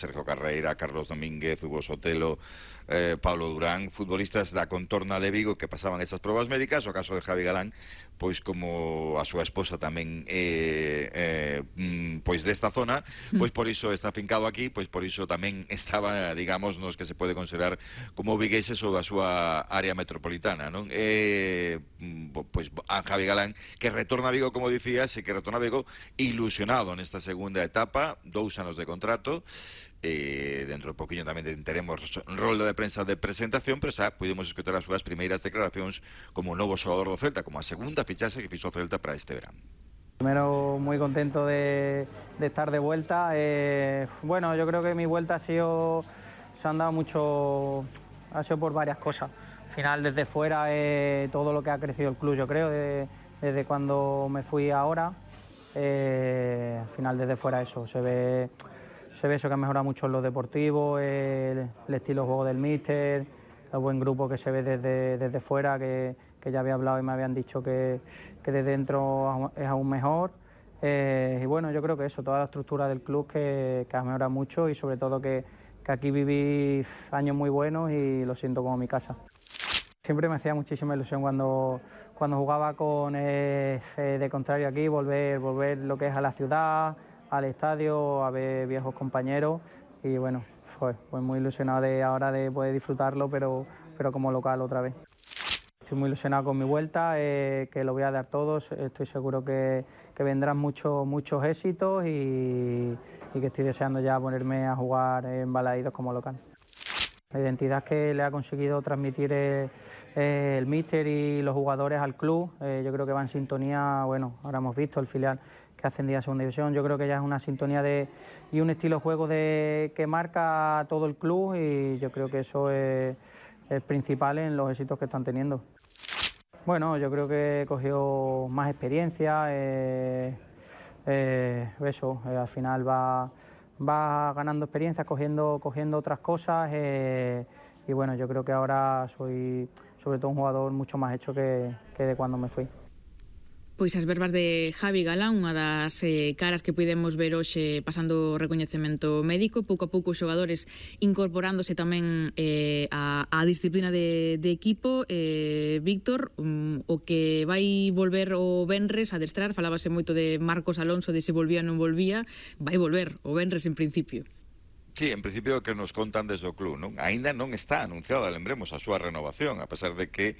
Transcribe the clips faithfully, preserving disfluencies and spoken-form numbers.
Sergio Carreira, Carlos Domínguez, Hugo Sotelo, eh, Pablo Durán, futbolistas da contorna de Vigo que pasaban estas probas médicas. O caso de Javi Galán, pois como a súa esposa tamén é eh, mm, pois desta zona, pois por iso está afincado aquí, pois por iso tamén estaba, digamos, nos que se pode considerar como vigueses ou da súa área metropolitana, non? Eh, pois a Javi Galán, que retorna a Vigo, como dicías, e que retorna a Vigo ilusionado nesta segunda etapa, dous anos de contrato. Eh, dentro de poquinho tamén teremos rollo de prensa de presentación, pero xa pudimos escutar as súas primeiras declaracións como novo xogador do Celta, como a segunda fichaxe que fixo o Celta para este verano. Primero, muy contento de, de estar de vuelta. Eh, bueno, yo creo que mi vuelta ha sido, se han dado mucho, ha sido por varias cosas. Al final, desde fuera, eh, todo lo que ha crecido el club, yo creo, de, desde cuando me fui ahora, eh, al final desde fuera eso, se ve... Se ve eso que ha mejorado mucho en lo deportivo, el, el estilo de juego del míster, el buen grupo que se ve desde, desde fuera, que, que ya había hablado y me habían dicho que, que desde dentro es aún mejor. Eh, y bueno, yo creo que eso, toda la estructura del club que, que ha mejorado mucho y sobre todo que, que aquí viví años muy buenos y lo siento como mi casa. Siempre me hacía muchísima ilusión cuando, cuando jugaba con eh, de contrario aquí, volver, volver lo que es a la ciudad, al estadio, a ver viejos compañeros y bueno, fue, fue muy ilusionado de ahora de poder disfrutarlo, pero, pero como local otra vez. Estoy muy ilusionado con mi vuelta, eh, que lo voy a dar todos, estoy seguro que, que vendrán muchos muchos éxitos y, y que estoy deseando ya ponerme a jugar en Balaídos como local. La identidad que le ha conseguido transmitir el, el míster y los jugadores al club, eh, yo creo que va en sintonía, bueno, ahora hemos visto el filial que ha ascendido a segunda división, yo creo que ya es una sintonía de, y un estilo de juego de, que marca todo el club y yo creo que eso es, es principal en los éxitos que están teniendo. Bueno, yo creo que he cogido más experiencia, eh, eh, eso, eh, al final va... va ganando experiencia, cogiendo, cogiendo otras cosas eh, y bueno, yo creo que ahora soy sobre todo un jugador mucho más hecho que, que de cuando me fui. Pois as verbas de Javi Galán, unha das eh, caras que podemos ver hoxe pasando o recoñecemento médico, pouco a pouco os xogadores incorporándose tamén eh, a, a disciplina de, de equipo. eh, Víctor, um, o que vai volver o venres a adestrar, falábase moito de Marcos Alonso, de se volvía ou non volvía, vai volver o venres en principio. Sí, en principio que nos contan desde o club, non? Aínda non está anunciada, lembremos, a súa renovación, a pesar de que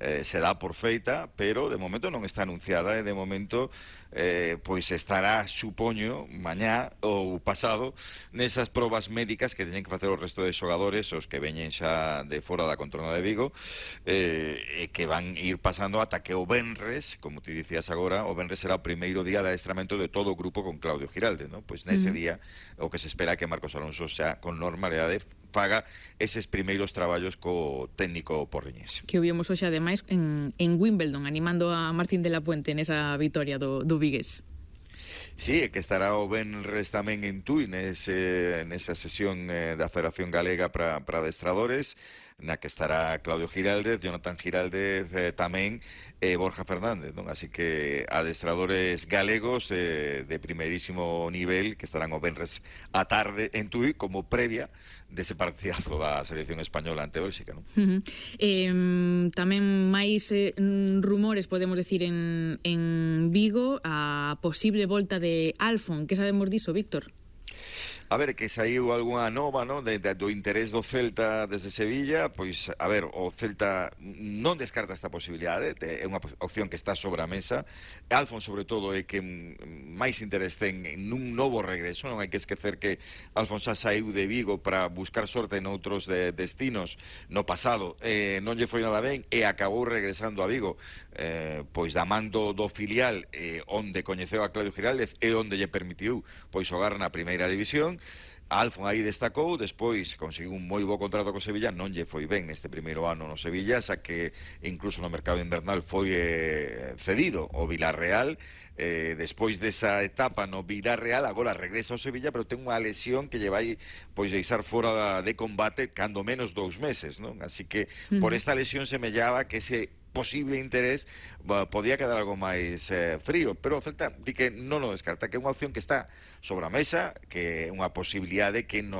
eh, se dá por feita, pero de momento non está anunciada e de momento eh, pois estará, supoño, mañá ou pasado nesas probas médicas que teñen que facer o resto de xogadores, os que veñen xa de fora da contorna de Vigo, eh, e que van ir pasando ata que o venres, como te dicías agora, o venres será o primeiro día de adestramento de todo o grupo con Claudio Giralde, ¿no? Pois nese uh-huh. día o que se espera que Marcos Alonso xa con normalidade faga eses primeiros traballos co técnico porriñés. Que o vimos hoxe ademais en, en Wimbledon, animando a Martín de la Puente nesa vitoria do, do Vigués. Sí, que estará o venres tamén en Tui nese, nesa sesión eh, da Federación Galega para adestradores, na que estará Claudio Giraldez, Jonathan Giraldez eh, tamén, e eh, Borja Fernández, non? Así que adestradores galegos eh, de primeirísimo nivel que estarán o venres a tarde en Tui como previa dese partidazo da selección española ante Bélxica, non? Uh-huh. eh, tamén máis eh, rumores, podemos decir, en, en Vigo, a posible volta de Alfon. Que sabemos diso, Víctor? A ver, que saiu algunha nova, non, de, de, do interés do Celta desde Sevilla, pois, a ver, o Celta non descarta esta posibilidade, é unha opción que está sobre a mesa. Alfon, sobre todo, é que máis interés ten nun novo regreso, non hai que esquecer que Alfon xa saiu de Vigo para buscar sorte en outros de, destinos no pasado, eh, non lle foi nada ben e acabou regresando a Vigo, eh, pois da man do, do filial, eh, onde coñeceu a Claudio Giraldez e onde lle permitiu pois xogar na primeira división. Alfon aí destacou, despois conseguiu un moi bo contrato co Sevilla, non lle foi ben neste primeiro ano no Sevilla, xa que incluso no mercado invernal foi eh, cedido o Villarreal, eh, despois desa etapa no Villarreal, agora regresa ao Sevilla, pero ten unha lesión que lle vai pois deixar fora de combate cando menos dous meses, non? Así que por esta lesión semellaba que ese posible interés podía quedar algo máis eh, frío, pero o Celta di que non o descarta, que é unha opción que está sobre a mesa, que é unha posibilidade que nos